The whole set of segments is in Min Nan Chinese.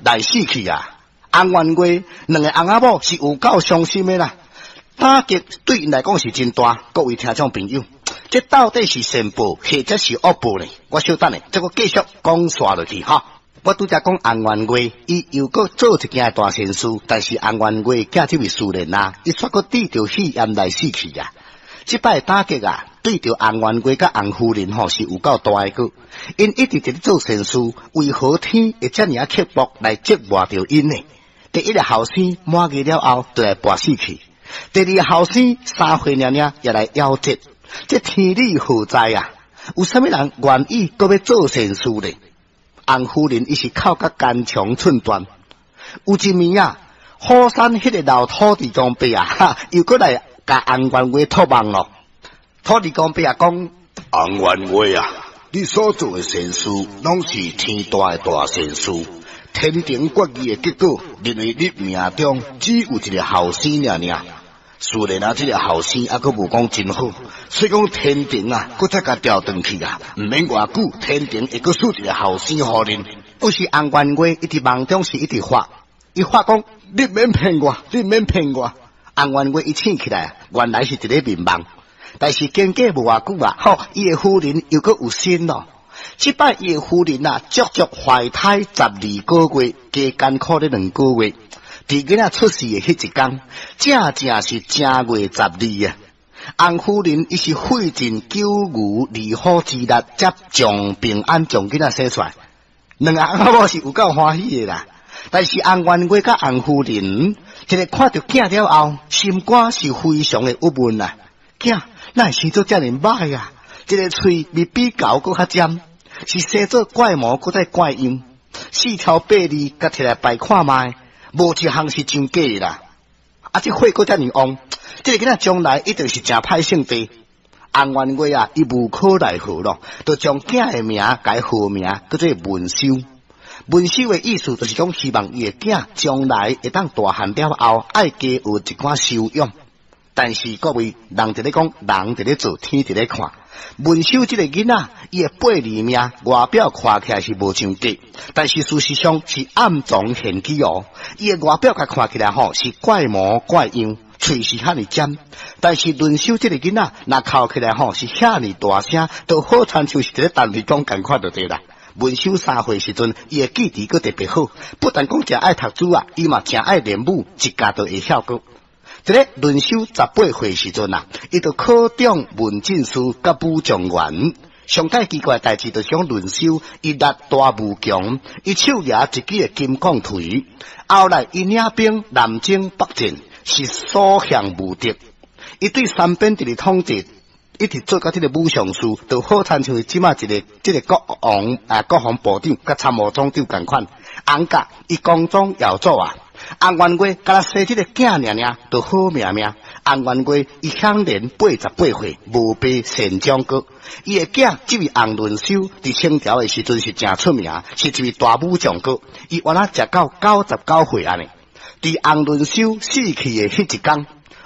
來死去啊！翁元月兩個翁仔某是有夠傷心的啦，打擊對𪜶來講是真大。各位聽眾朋友，這到底是善報或者是惡報呢？我稍等下，這閣繼續講煞落去哈。我拄才講翁元月，伊又閣做一件大善事，但是翁元月囝這位思連啊，伊煞閣得著肺炎來死去啊！這擺打擊啊，對著翁元月佮翁夫人吼是有夠大的閣，𪜶一直佇咧做善事，為何天會遮爾仔刻薄來折磨著𪜶呢？第一个後生滿月了後就來跋死去，第二个後生3歲爾爾也來夭折，這天理何在啊？有啥物人願意閣欲做善事呢？翁夫人伊是哭甲肝腸寸斷，有一暝啊，虎山彼个老土地公伯啊，哈，又閣來共翁元月托夢咯。土地公伯啊講：翁元月啊，你所做的善事，攏是天大的大善事。天庭決議的結果，認為你命中只有一个後生爾爾。雖然啊，這个後生猶閣無講真好，所以講天庭啊，閣再共調轉去啊，毋免偌久，天庭會閣賜一个後生予恁。有時翁元月伊佇夢中是一直發，伊發講：你免騙我，你免騙我。翁元月伊醒起來，原來是一个眠夢，但是經過無偌久啊，吼，伊的夫人又閣有身咯。這擺伊的夫人啊，足足懷胎12個月，加艱苦咧兩個月。佇囡仔出世的彼一工，正正是正月十二啊！翁夫人伊是費盡九牛二虎之力，才將平安將囡仔生出來。兩个翁仔某是有夠歡喜的啦。但是翁元月佮翁夫人，一个看著囝了後，心肝是非常的鬱悶啊！囝哪會生做遮爾歹啊？這个喙咪比猴閣較尖，是生做怪模閣再怪樣，四條八字共提來擺看覓，無一項是真假的啦！啊，這火閣遮爾旺，這个囡仔將來一定是誠歹性地。翁元月啊，伊無可奈何咯，就將囝的名改號名，叫做文修。文修的意思就是講，希望伊的囝將來會當大漢了後，愛加學一寡修養。但是各位，人佇咧講，人佇咧做，天佇咧看。文修這个囡仔，伊的八字命外表看起來是無像假，但是事實上是暗藏玄機哦。伊的外表共看起來吼是怪模怪樣，喙是遐爾尖，但是文修這个囡仔，若哭起來吼是遐爾大聲，都好親像是佇咧陳皮講仝款就對啦。文修3歲時陣，伊的記憶閣特別好，不但講誠愛讀書啊，伊嘛誠愛練武，一教就會曉閣。佇咧文修18歲時陣啊，伊就考中文進士佮武狀元。上蓋奇怪代誌就是講文修伊力大無窮，伊手舉一支的金剛錘。後來伊領兵南征北戰，是所向無敵。伊對三邊佇咧統治，一直做到這个武尚書，就好親像這馬一个這个國王啊，國防部長佮參謀總長仝款。翁甲伊光宗耀祖啊！翁元月敢若生這个囝爾爾，就好命命。翁元月伊享年88歲，無病善終閣。伊的囝這位翁倫修，佇清朝的時陣是誠出名，是一位大武將閣。伊原來食到99歲按呢。佇翁倫修死去的彼一工，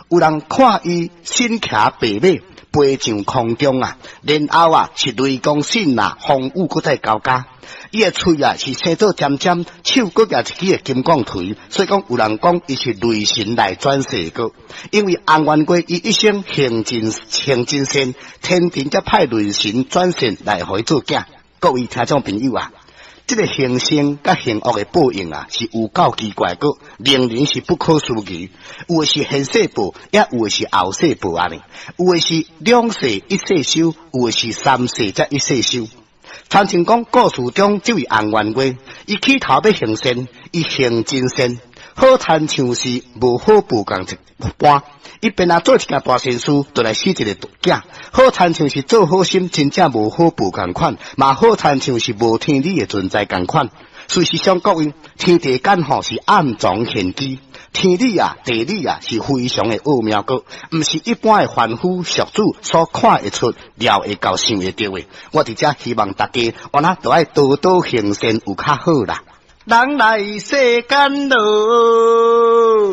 有人看伊身騎白馬，飛上空中啊，然後啊是雷公閃啊，風雨閣再交加。伊的喙啊是生做尖尖，手閣舉一支的金剛錘，所以講有人講伊是雷神來轉世閣。因為翁元月伊一生行真行真善，天庭才派雷神轉世來予伊做囝。各位聽眾朋友啊，這个行善佮行惡的報應啊，是有夠奇怪閣，令人是不可思議。有的是現世報，也有的是後世報按呢。有的是兩世一世修，有的是三世才一世修。親像講故事中這位翁元月，伊起頭欲行善，伊行真善，好親像是無好報仝一般。伊便若做一件大善事，就來死一个囝，好親像是做好心，真正無好報仝款，嘛好親像是無天理的存在仝款。事實上，各位天地間吼是暗藏玄機，天理啊、地理啊是非常的奧妙閣，毋是一般的凡夫俗子所看會出、料會到、想會著的。我佇遮希望大家，按呢都愛多多行善，有較好啦。人來世間囉。